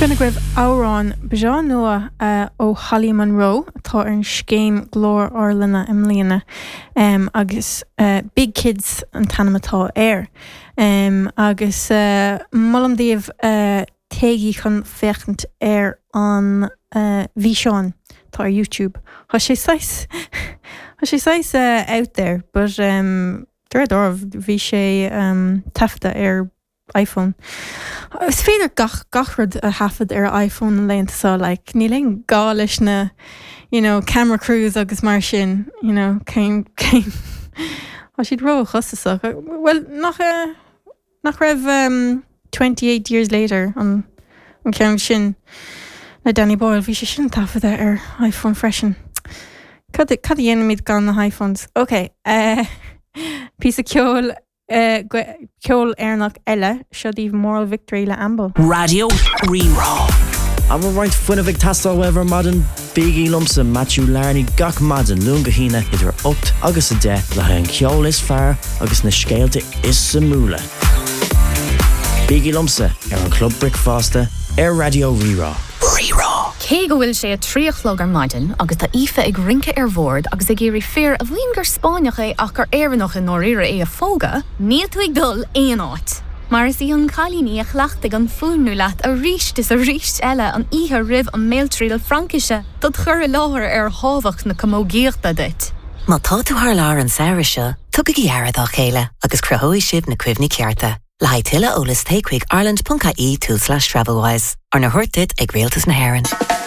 Sin agaibh amhrán breá nua ó Holly Munro atá ar an scéim Glór Ár Linne i mbliana agus Big Kids an t-ainm atá air. Agus molaim daoibh téigí chun féachaint ar an bhfíseán atá ar YouTube. Tá sé saghas tá sé saghas out there but de réir dealraimh bhí sé taifeadta ar iPhone. Is féidir gach gach rud a thaifead ar iPhone na laethanta seo like níl aon gá leis na you know camera crews agus mar sin you know cén cén tá siad ró-chostasach. Bhuel nach nach raibh 28 Years Later an an ceann sin le Danny Boyle bhí sé sin taifeadta ar iPhone freisin. Cad cad a dhéanfaimid gan na hiPhones? Ok eh píosa ceoil Ceol Éireannach eile, seo daoibh Moral Victory le Amble. Raidió Rí-Rá. An bhfuil roinnt fuinnimh ag teastáil uaibh ar maidin? Bígí liomsa, Matthew Larney, gach maidin, Luan go hAoine, idir 8 agus 10, le haghaidh an cheoil is fearr agus na scéalta is suimiúla. Bígí liomsa ar an Chlub Bricfeasta ar Raidió Rí-Rá. Rí-Rá. Cé go bhfuil sé a 3 a chlog ar maidin agus tá Aoife ag rince ar bhord agus ag iarraidh fear a mhaíonn gur Spáinneach é ach gur Éireannach i ndáiríre é a phógadh, níl tú ag dul aon áit! Mar is í an cailín í a chleachtaigh an fuaimniú leat arís is arís eile an oíche roimh an mbéaltriail Fraincise dod chur i láthair ar thábhacht na camógaíochta duit. Má tá tú thar lear an samhradh seo, tugaigí aire dá chéile agus cruthóidh sibh na cuimhní cearta. Le haghaidh tuilleadh eolais téigh chuig ireland.ie tulslais travelwise. Arna thabhairt duit ag Rialtas na hÉireann.